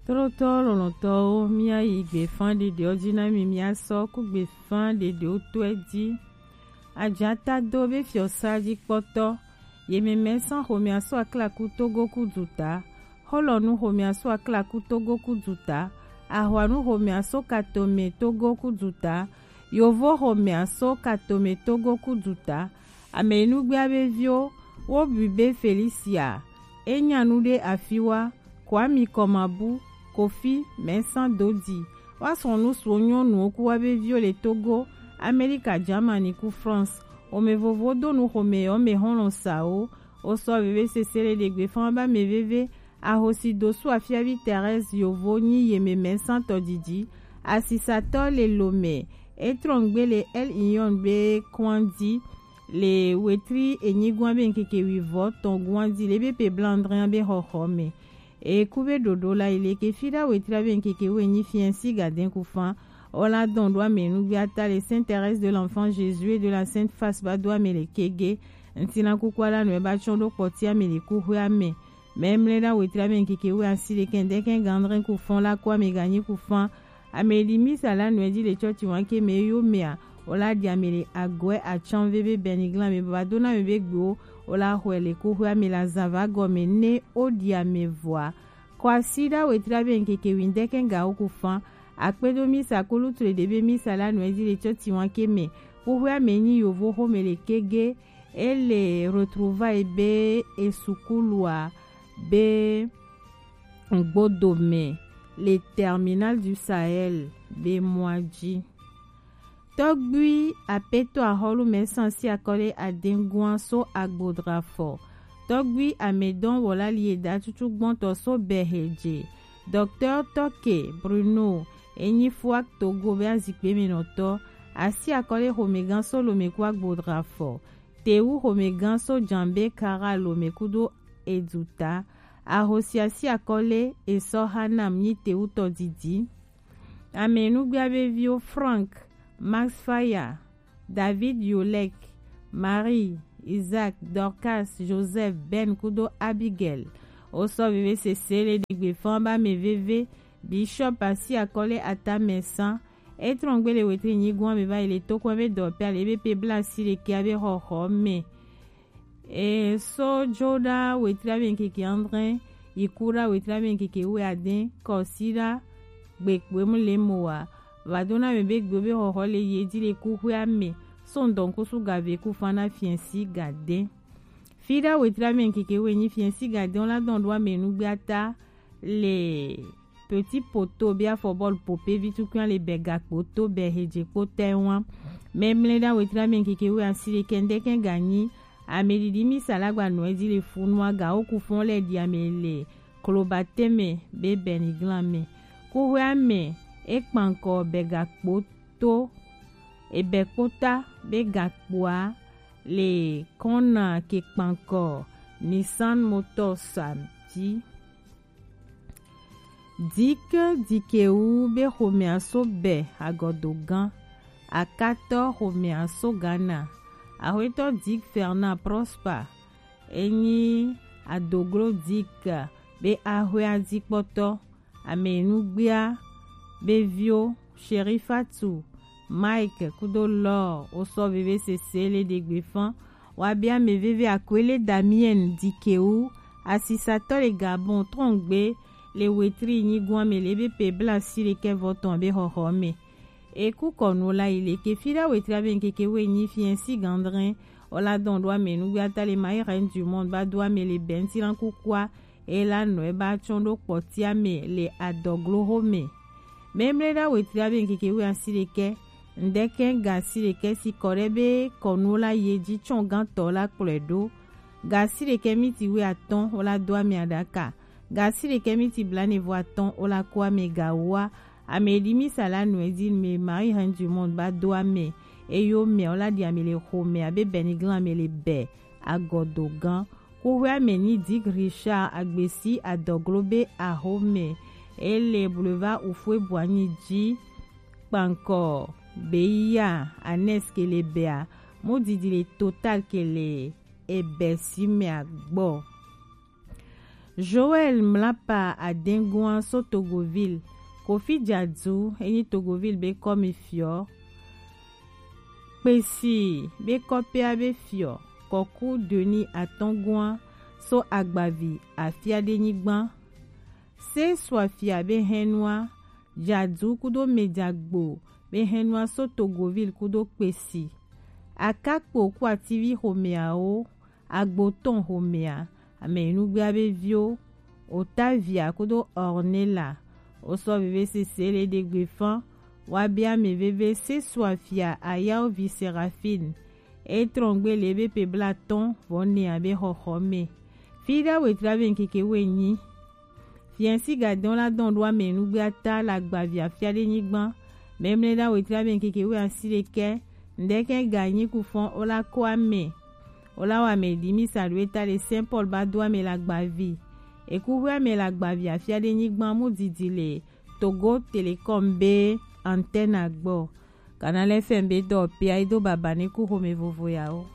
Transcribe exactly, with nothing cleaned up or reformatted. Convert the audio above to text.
Trotɔ lɔlɔ̃tɔwo, míayi gbefã ɖeɖewo dzi na mi, míasɔ ku gbefã ɖeɖewo tɔe dzi. Ajata do be fiɔsa dzi kpɔtɔ, yememɛ sã xomea so aklaku Togo ku duta, xɔlɔnu xomea so aklaku Togo ku duta, ahwanu xomea so katome Togo ku duta, yovo xomea so katome Togo ku duta, ame yi nugbea be viwo, wo bui be Felicia, e nya nu ɖe afi wa, Kwami Kɔmabu, Kofi, Mɛsan Dodi, wa srɔ̃nu suɔ nyɔnuwo ku wa be viwo le Togo, Amerika, Germany ku France. Xome vovowo do nu xome yɔ me xɔlɔ̃ sawo. Wo sɔ veve sese le ɖegbe fã ba me veve. Ahosi dosu afiavi Thérèse yovo nyi yeme Mɛsan tɔdidi. Asisatɔ le lome. E trɔngbe le El Ion be kɔn di. Le wetri enyigɔn be ŋkeke wivɔ tɔn gɔn di le be pe blandrin be xɔxɔ me. E ku be ɖoɖo la yi le ke fi ɖa wetri be ŋkeke wo enyi fiɛn si gadɛn ku fan. O la dɔn ɖo ame nugbe ata le Sainte Thérèse de l'Enfant Jésus et de la Sainte Face ba do ame le kege. Ŋtina kukua la nɔe ba tsɔn ɖo kpɔti ame le ku hwe ame. Mɛmlɛ ɖa wetri be ŋkeke wo asi le kɛn dɛkɛn gandrin ku fan la ku ame ganyi ku fan. Ame ɖi misa la nɔe di le tsɔtsi wan ke me yo mea. O la ɖi ame le agɔe atsan veve bɛniglan me baba do na me be gbewo. O la xɔe le ku hwe ame la zava gɔme ne o ɖi ame vɔa. Kwasiɖa wetri be ŋkeke windɛkɛn gawo ku fan. Akpedo misa kulu tle ɖe be misa la nɔe di le tsɔtsi wan ke me. Ku hwe ame nyi yovo xome le kege. E le retrouvaille be esukulua be Gbodome le Terminal du Sahel be mɔa dzi. Tɔgbui apetɔ axɔlu mɛ sansi akɔle adengua so agbodra fɔ. Tɔgbui amedɔn wɔla lieda tutu gbɔntɔ so bɛhedze. Docteur Tɔke Bruno enyi fua Togo be azikpe me nɔtɔ. Asi akɔle xomegã so lome ku agbodra fɔ. Tewu xomegã so jambe kara lome kudo eduta. Ahosia si akɔle esɔ hanam nyi tewu tɔdidi. Ame nugbia be viwo Frank, Max Faya, David Yolek, Marie, Isaac, Dorcas, Joseph, Ben kudo Abigail. Wo sɔ veve sese le ɖigbe fan ba me veve. Bishop asi akɔle ata me san. E trɔngbe le wetri nyigun me va yi le tokɔ be dɔ pe ale be pe bla si le kia be xɔxɔ me. E so jo ɖa wetri be ŋkeke andre, yi ku ɖa wetri be ŋkeke we aden, kɔsi ɖa gbekpe mu le mo wa. Va do na me be gbe be xɔxɔ le ye di le ku hwe ame. So ŋdɔn kusu gave ku fan na fiɛnsi gaden. Fi ɖa wetri be ŋkeke we nyi fiɛnsi gaden la dɔn ɖo ame nugbe ata le Petit Poto be afɔ bɔlu pope vi tukui le bɛ gakpo to bɛ hedze kpo tɛ wan. Mɛmlɛ ɖa wetri be ŋkeke we asi le kɛndɛ kɛn ganyi. Ame ɖiɖi mi salagba nɔ edi le funua ga wo ku fɔn lɛ ɖi ame le klobatɛmɛ be bɛniglan mɛ. Kuhwe ame e kpankɔ bɛ gakpo to ebɛ kpota be gakpoa le kɔna ke kpankɔ Nissan Motors a di. Dik Dikewu be xomea so bɛ agɔdogã. Akatɔ xomea so Ghana. Axwetɔ Dik Fernand Prosper enyi adoglo Dik be axwea dikpɔtɔ. Ame nugbea be viwo Sherifatu, Mike kudo Lor wosɔ veve sese le ɖegbe fan. Wa be ame veve Akwele Damien Dikewu, asisatɔ le Gabon trɔngbe le wetri nyigun ame le be pe bla si le kɛ vɔtɔn be xɔxɔ me. E ku kɔnu la yi le ke fi ɖa wetri be ŋkeke we nyi fiɛnsi gandrin. Ola dɔn ɖo ame nugbe ata le Marie Reine du Monde ba do ame le bɛntilan kukua. Ela nɔ eba tsɔn ɖo kpɔtia me le adɔgloho me. Mɛmlɛ ɖa wetri be ŋkeke we asi ɖekɛ. Ŋdɛkɛ ga asi ɖekɛ si kɔ ɖe be kɔnu la ye dzi tsɔn gantɔ la kplɔe ɖo. Ga asi ɖekɛ miti we atɔn wola do ame aɖaka. Ga asi ɖekɛ miti blanevɔ atɔn wola ko ame gawoa. Ame ɖi mi sala nɔe di me Marie Reine du Monde ba do ame. Eyo mɛ wola ɖi ame le xomɛ abe bɛniglan ame le bɛ agɔdogã. Kuhwea me nyi Dick Richard Agbesi adɔglo be axome. Ele Boulevard Houphouët-Boigny ji kpankɔ Beya Anes ke le bɛa. Mu didi le Total ke le ebɛ si mea gbɔ. Joël Mlapa Adengua so Togoville, Kofi Djadou, enyi Togoville be kɔmi fiɔ, Kpesi be kɔpea be fiɔ, Kɔku Denis Atɔngua so Agbavi Afiadenyigban, Se Suafia be hɛnua, Djadou kudo Medjagbo be hɛnua so Togoville kudo Kpesi. Akakpo ku ativi xomɛawo, Agbotɔn xomɛa, amɛnugbea be viwo, Otavia kudo Ornella, wosɔ veve sese le ɖegbe fan, wa be ame veve Se Suafia Ayawo vi Seraphine, e trɔngbe le be pe blatɔn vɔ nɛa be xɔxɔ mɛ. Fi ɖa wetra be ŋkeke wenyi. Fiɛnsi gadɔn la dɔn ɖo amɛnugbea ta le Agbavi Afiadenyigban, mɛmlɛ ɖa wetra be ŋkeke we asi ɖekɛ, ŋɖekɛ ganyi kufɔn o la ko amɛ. O la wa amɛ ɖi misa ɖo eta le Saint Paul ba do amɛ le Agbavi. Eku hwe amɛ le Agbavi Afiadenyigban mu didi le Togo Telecom be antenne agbɔ. Canal F M be dɔ pia ido baba ne ku xome vovo yawo.